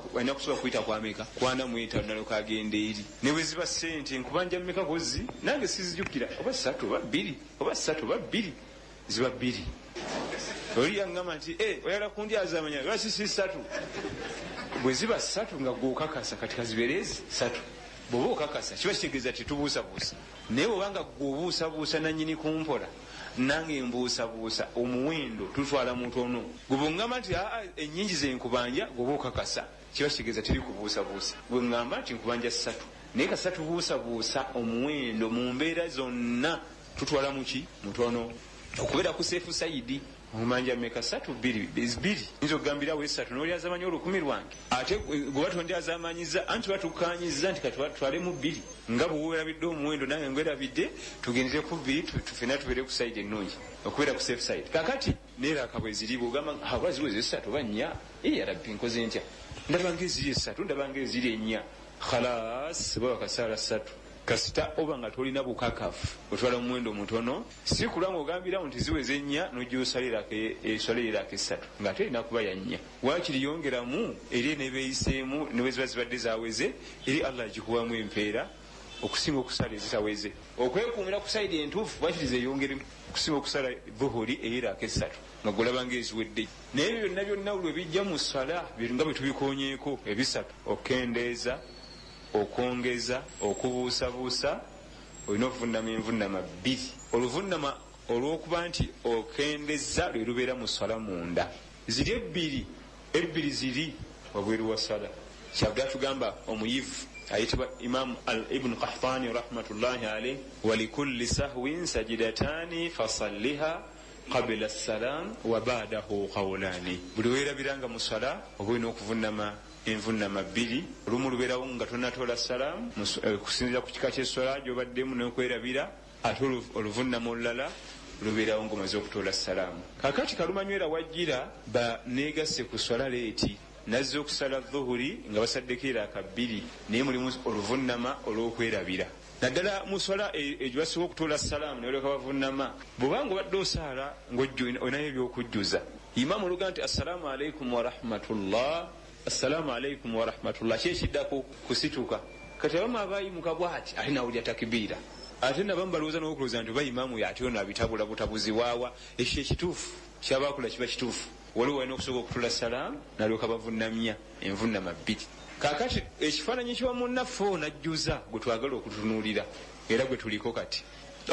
[SPEAKER 12] kuyita kwameka? Ku 45, nalyoka agenda eri. Ne bwe ziba ssente, nkubanja mmeka kozi? Nange sizijjukira, oba 3 oba 2, oba 3 oba 2, ziba 2. Oli yaŋŋamba nti oyagala kundyazaamanya, lwaki si 3? Bwe ziba 3 nga gw'okakasa, kati kazibeere ezi 3. Bw'oba okakasa kiba kitegeeza tetubuusabuusa. Naye bw'obanga gw'obuusabuusa nannyini kumpola, nange mbuusabuusa omuwendo, tutwala mutono. Gwe bw'oŋŋamba nti aa ennyingi ze nkubanja, gw'oba okakasa, kiba kitegeeza teri kubuusabuusa. Gwe ŋŋamba nti nkubanja 3, naye kasita tubuusabuusa omuwendo mu mbeera zonna, tutwala muki? Mutono. Okubeera ku seefu sayidi. Omanja mmeka? 3, 2, 2. Nyinza okugambirawo 3 n'olyazaamanya 1000 lwange, ate gwe batondyazamanyiza anti batukkaanyizza nti katutwalemu 2, nga bwe weerabidde omuwendo nange ngwerabidde, tugendere ku 2, ffenna tubeere ku sayidi ennungi, okubeera ku safe side. Kakati neeraka bwe ziri, bw'ogamba oba ziweze 3 oba 4, ya Rabbi nkoze ntya? Ndaba ng'eziri 3, ndaba ng'eziri 4, khalas baba kasaala 3. Kasita oba nga tolina bukakafu, otwala omuwendo mutono. Si kulwa ng'ogambirawo nti ziweze 4 n'ojja osalirako eswala erako 3 ng'ate erina kuba ya 4. Waakiri yongeramu eri eneebeeyiseemu, ne bwe ziba zibadde zaweze, eri Allah agikuwamu empeera okusinga okusala ezitaweze. Okwekuumira ku sayidi entuufu, waakiri zeeyongeremu okusinga okusala dhuhuri ey'erako 3 nga gw'olaba ng'eziwedde. Naye ebyo byonna byonna lwe bijja mu ssala nga bwe tubikonyeeko ebisatu, okukendeeza, okwongeza, okubuusabuusa, olina okuvunama envunama 2. Oluvunama olw'okuba nti okendeza lwe lubeera mu ssala munda, ziri ebbiri, ebbiri ziri wabweru wa ssala. Kyava atugamba omuyivu ayitibwa Imam Ibn Qahtani rahmatullahi alayh, walikulli sahwin sajidatani fasalliha qabla salam wa ba'dahu qawlani. Buli weerabiranga mu ssala oba olina okuvunama envunama 2. Olumu lubeerawo nga tonnatoola salaamu, okusinziira ku kika ky'esswala gy'obaddemu n'okwerabira, ate oluvunama olulala Lubeerawo ng'omaze okutoola salaamu. Kakati kalumanywera wajjira ba negasse ku swala leeti, nazza okusala dhuhuri nga basaddeko eraaka bbiri, naye mulimu oluvunama olw'okwerabira, naddala mu swala egyo basobola okutoola salaamu ne balyoka bavunama. Bw'obanga obadde osaala ng'olinayo ebyokujjuza, imaamu oluga nti assalaamu alaikum warahmatullah, assalaamu alaikum warahmatullah, ki ekiddako? Kusituka. Kati abamu abayimuka bwati ate nawulira takibiira, ate nabamu balowooza n'okulowooza nti oba imaamu ate ono abitabula butabuzi waawa. Ekyo ekituufu kyabakola kiba kituufu. Waliwo walina okusooka okutula salaamu nalyoka bavunamya envunama bbiri. Kakati ekifaananyi kiwa munnaffe ono ajjuza gwe twagala okutunuulira era gwe tuliko kati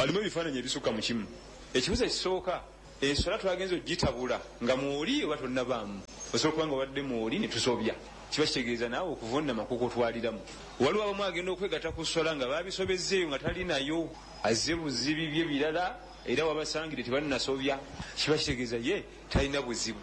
[SPEAKER 12] alimu ebifaananyi ebisukka mu kimu. Ekibuzo ekisooka, enswala twagenza ogitabula nga mwoli oba tonnabaamu? Osobola okuba nga obadde mwoli ne tusobya, kiba kitegeeza naawe okuvunama kukutwaliramu. Waliwo abamu agenda okwegatta ku swala nga babisobezzeeyo nga tali nayo, azze buzibi bye birala, era wabasangire tebannasobya, kiba kitegeeza ye talina buzibu.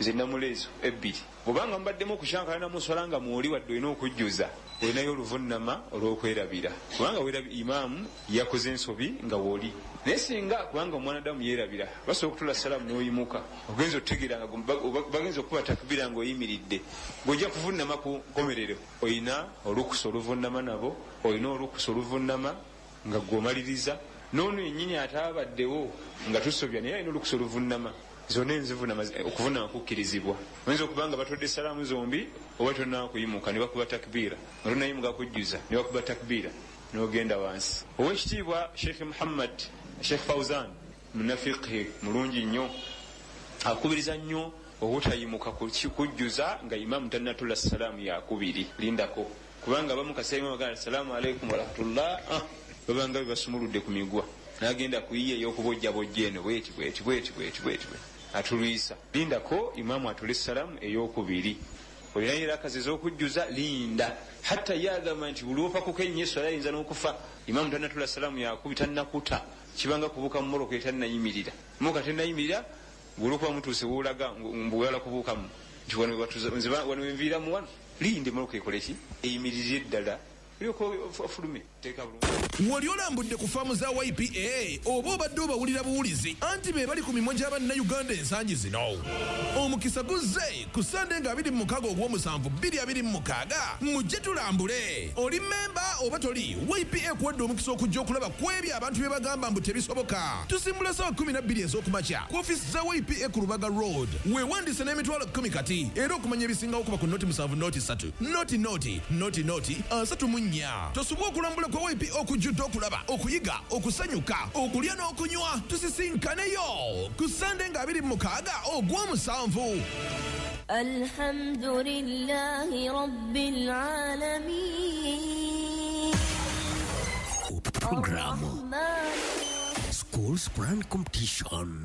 [SPEAKER 12] Nze namula ezo ebbiri. Bwobanga mubaddemu okukyankalana mu swala nga mwoli, wadde olina okujjuza, olinayo oluvunama olw'okwerabira, kubanga imaamu yakoze ensobi nga woli. Naye singa kubanga omwanadamu yeerabira, basobola okutula salaamu n'oyimuka, ogenza otutegeera nga bagenza okukuba takbira ng'oyimiridde, ng'ojja kuvunama ku nkomerero, olina olukusa oluvunama nabo, olina olukusa oluvunama nga gweomaliriza. N'ono yennyini ataabaddewo nga tusobya, naye alina olukusa oluvunama. Zonna enzivunama, okuvunama kukkirizibwa. Oyinza okuba nga batodde salaamu zombi oba tonnaba kuyimuka ne bakuba takbiira, nga tonnayimuka kujjuza ne bakuba takbiira n'ogenda wansi. Owekitiibwa Sheikh Muhammad Sheikh Fauzan munafiqhi mulungi nnyo, akubiriza nnyo obutayimuka kujjuza nga imaamu tannatula salaamu yakubiri. Lindako, kubanga abamu kaseera imamu agamba assalaamu alaikum warahmatullah, babanga bebasumuludde ku migwa, nagenda kuyiya ey'okubojjabojja eno bweti bweti bweti bweti bweti atulwisa. Lindako imaamu atule salaamu ey'okubiri, olinayo erakazi ez'okujjuza, linda. Hatta ye agamba nti buli opakuka ennyo eswala ayinza n'okufa. Imaamu tannatula salaamu yakubi, tannakuta, kibanga kubuuka mu mmotoka etannayimirira. Mmotoka tennayimirira, olwokuba mutuuse woolaga mbu oyagala kubuukamu nti wano wenviiramu wano, linda emmotoka ekole ki, eyimirire ddala, olyoka ofulume.
[SPEAKER 13] Wali olambudde ku faamu za YPA oba obadde obawulira buwulizi? Anti be bali ku mimwa gy'abannayuganda ensangi zino. Omukisa guzze ku Sande nga 26 ogw'omusanvu 2026, mujje tulambule. Oli memba oba toli, YPA kuwadde omukisa okujja okulaba ku ebyo abantu bye bagamba mbu tebisoboka. Tusimbula ssaawa 12 ez'okumakya ku ofiisi za YPA ku Lubaga Road. Weewandiise n'emitwalo 10 kati, era okumanya ebisingawo kuba ku 070 3 00 00 34. Tosubwa okulambula kwa YPA okujjudde okulaba, okuyiga, okusanyuka, okulya n'okunywa. Tusisinkaneyo ku Sande nga 26 ogw'omusanvu.
[SPEAKER 14] الحمد لله رب العالمين.
[SPEAKER 11] Program Schools Quran Competition.